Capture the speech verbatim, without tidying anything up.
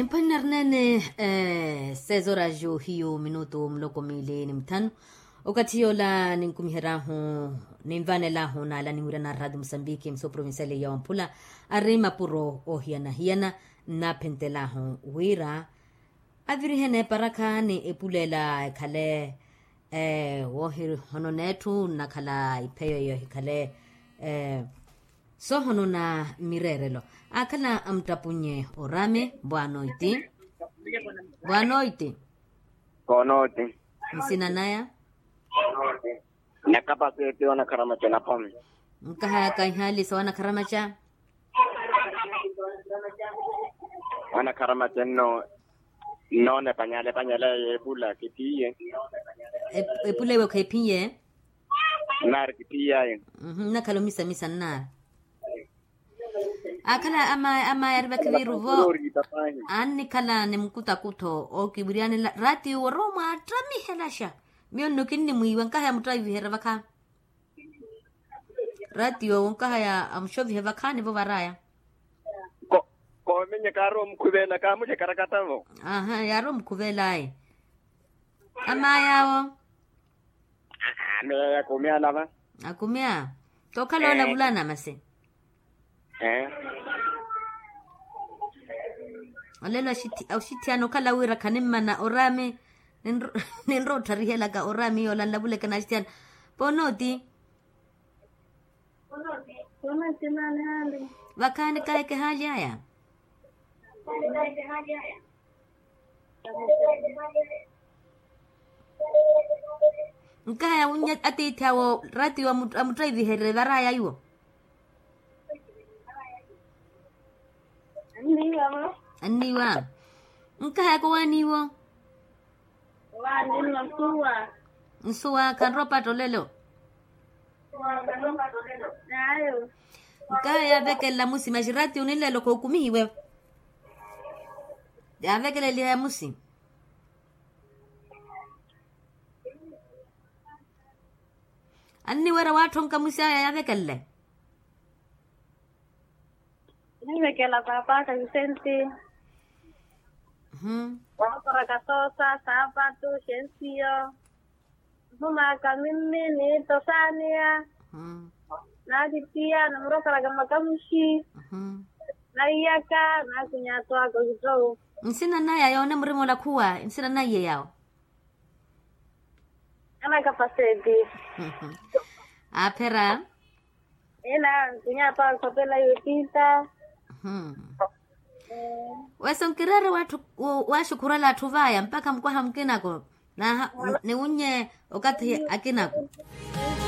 Nimphanne arnene. Sezorajo hiyo minutu muloko miili ni muthanu. Okathi yoola ninkumihery'ahu, ninvanelahu naala niwirana arradio musambiki mso provincial ya wamphula, ari mapuro oohiyana-hiyana. Nnaaphentelahu wira avirihene eparakha ni epuleela ekhale woohihonona etthu nnakhala ipheyo iyo ehikhale soohonona mireerelo. Aakhala amuttapunye orame bwanoiti. Bwanoiti. Koonooti. Nsina naya? Nakapaseti wanakharamaca napome. Nkahaya kaihaalisa wanakharamaca. Wanakharamaca nno nnoona epanyala epanyala eyo epula kitiye. Epula ewe khephiye. Nnaari kitiyaye. Nnakhala omisamisa nnaari. Aakhala amaya ari vakhiviiruvo. Annikhala ni mukutakutho ookiwiryanela raatiyo orowa mwaattamihelaxa. Miyo nno kinnimwiiwa nkahaya muttaviherya vakha. Raatiyo onkahaya amuxovihe vakhaani vo varaya. Koominye kaarowa omukhuveela kaamuxe karakatavo. Aha yaarowa omukhuveel'aye. Amaya awo. Ameya yakumiya lava. Akumiya. Tookhala olavulana masi. Olelo axitthiyana okhala wira khanimmana oraami. Ninrowa ottharihelaka oraami yoola nlavuleke n'axitthiyana. Ponooti. Vakhaani kahi ekehaali aya. Nkahaya wunnya atiithi awo raatiyo amuttaiviherye varaya iwo. Anniiwa. Nkahaya kowaaniiwo. Nsuwa khanrowa opatta olelo. Nkahaya yaavekelela musi maxi raatiyo ninlelo khookumihiwe. Yaavekeleliha ya musi. Anniwerya waatthu onkamusi aya yaavekelele. Ninvekela paapaka visenti. Waakoraka soosa saapatu xensiyo. Nhumaka mimmi niitto saaniya. Naatittiya namurokoraka makamuxi. Naiyaka naakunyatwaka okittowu. Nsina naya yoone murima olakhuwa nsina naiye yawo. Anakapaseti. Aaphera. Ina nkunyatwaka okhopela yootiita. Wesa onkireera waaxukhurela atthu vaya mpakha mukwaha mukinako. Niwunnye okathi akinako.